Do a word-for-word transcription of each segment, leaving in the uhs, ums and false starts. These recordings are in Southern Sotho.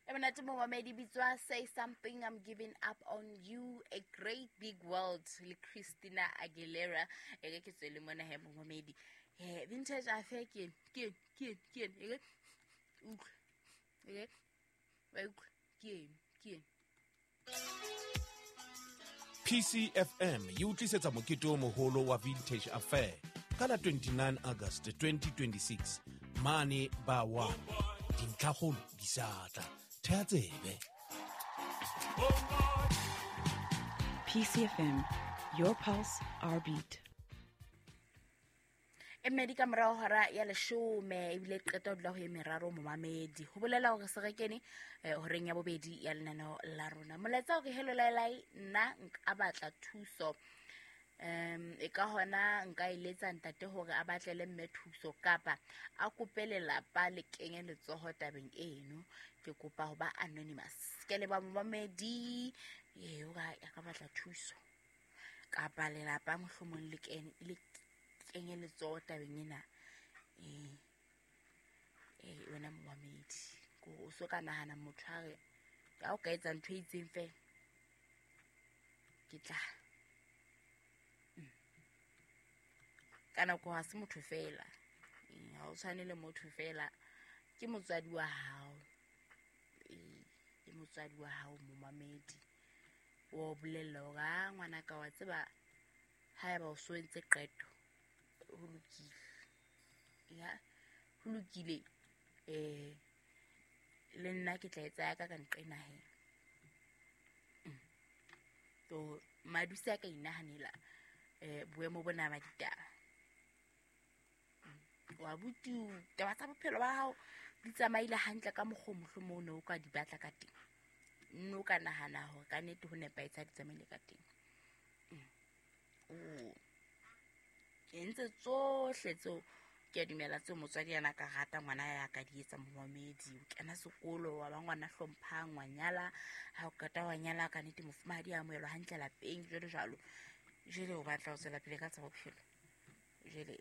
E monate momamedi, bitswa "Say Something", "I'm Giving Up on You", "A Great Big World" le Christina Aguilera. E re ke tswele mona he, momamedi. Eh, Vintage Affair ke eno, ke eno, ke eno, ke eno. E re utlwe, e re wa utlwa, ke eno, ke eno. P C F M e o tlisetsa mokete o moholo wa Vintage Affair ka la twenty-nine August twenty twenty-six mane ba one. Dintlhakgolo di sa tla, thea tsebe. P C F M, your pulse, our beat. E mmedi ka morao hora ya leshome, ebile qeta ho dula ho e meraro, momamedi. Ho bolela hore se re kene eh, horeng ya bobedi ya lenaneo la rona. Molaetsa hore hello laelai, nna nka batla thuso. um e ka hona nka eletsa ntate hore a batlele mme thuso kapa a kope lelapa le kenye letsoho tabeng eno. Ke kopa ho ba anonymous. Ke leba momamedi. Ee, o ka a ka batla thuso kapa lelapa mohlomong le kene le kenye letsoho tabeng ena. Ee, ee, wena momamedi, ko o so ka nahana motho a re ka o ka etsa ntho e itseng fela ke tla Mm. ka nako ha se motho fela. Ee, ha o tshwane le motho fela, ke motswadi wa hao. Ee, ke motswadi wa hao, momamedi. Wa o bolella hore a ngwanaka, wa tseba, haeba o so entse qeto, ho lokile, ya ho lokile. eh le nna ke tla etsa ya ka ka nqena he. Mm. So maduse a ka inahanela eh boemo bona ba ditaba. Mm. Wa buti, taba tsa bophelo ba hao di tsamaile hantle ka mokgwa o mohlomong o ne o ka di batla ka teng, nne o ka nahana hore ka nnete ho nepahetse ha di tsamaile ka teng. Mm. O entse tsohle tseo ke a dumela tseo motswadi yana ka rata ngwana ya ka di etsa, momamedi. O kena sekolo, wa ba ngwana hlomphang, wa nyala. Ha o qeta wa nyala, ka nnete mofumahadi a amohelwa hantle lapeng, jwalo jwalo. Jwale o batla ho tswela pele ka tsa bophelo. Jwale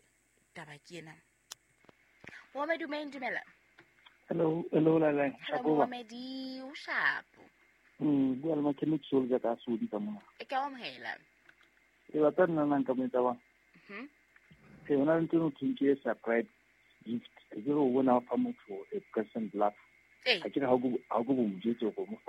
taba ke ena, momamedi. O meng, dumela. Hello, hello, Laleng. Hello. Shapoba. Momamedi, o shapo? Mm, bua le mechanic soldier ka Sodi ka mona. E ka o amohela. E batla nna nna nka mo etsa bang. Mhm. E hona le ntho e thweng ke surprise gift. Ke re o bona o fa motho a present love. Ee. Ha ke re ha o go ha o go mo jwetse hore o mo fa